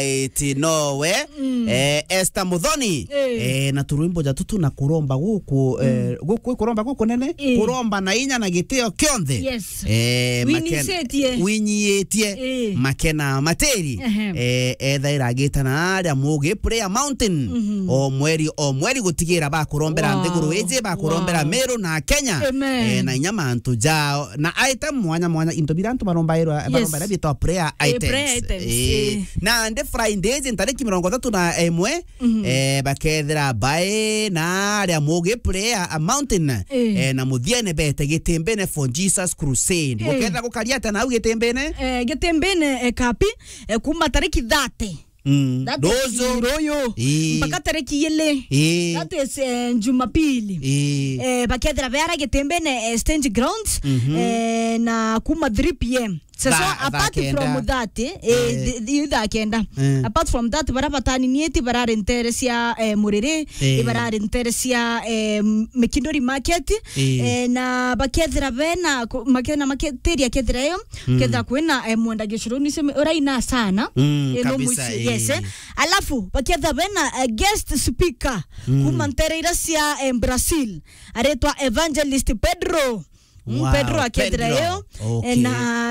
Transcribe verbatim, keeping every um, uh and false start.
iti nowe, eh, Esther Muthoni. Eh. Eh, na turwimbo ja tutu na kuromba guku, eh, guku, kuromba guku nene, kuromba na inya na gitio kionthe. Yes. Eh, winyiitie. Winyiitie. Eh. Makena Matiri. Ehe. Eh, ethaira agitana aria Mugi Prayer Mountain. O mweri, o mweri gutigira bakurombera nthiguru iji, bakurombera Meru na Kenya. Amen. Eh, na inya mantu jao. Na item mwanya mwanya, into bira antu barombairwa, yes, barombaira bitwa prayer items. Eh, prayer items, eh. Na nde Friday iji ntariki mirongo ithatu na imwe, eh, bakethira bae na aria Mugi Prayer Mountain, eh, na muthiene bete Gitimbine for Jesus Crusade. Eh. Gukethira gukaria atia nau Gitimbine? Eh, Gitimbine, eh, kapi, eh, kuma tariki thirty. Mm. That is ruyu. Ii. Mpaka tariki ili. Ii. That is, eh, Jumapili. Ii. Eh, bakethira beara Gitimbine, eh, stage grounds, eh, na kuma three p m. Sasa, apart from that, eh, the, the, thaa kenda. Eh. Apart from that, bara bataninie ti barari ntere cia, eh, Muriri, eh, barari ntere cia, eh, Mikinduri Market, eh, na bakethira bena, ku-, makena maketiria kethira yo, kethira kwina, eh, mwenda gicuruni seme, uraina sana. Mm, eh, no kabisa, muici, yes, eh. Alafu, bakethira bena, eh, guest speaker, kuma ntere ira cia, eh, Brazil, aretwa Evangelist Pedro. Mm, wow, Pedro akethira Pedro. Yo, eh, okay, na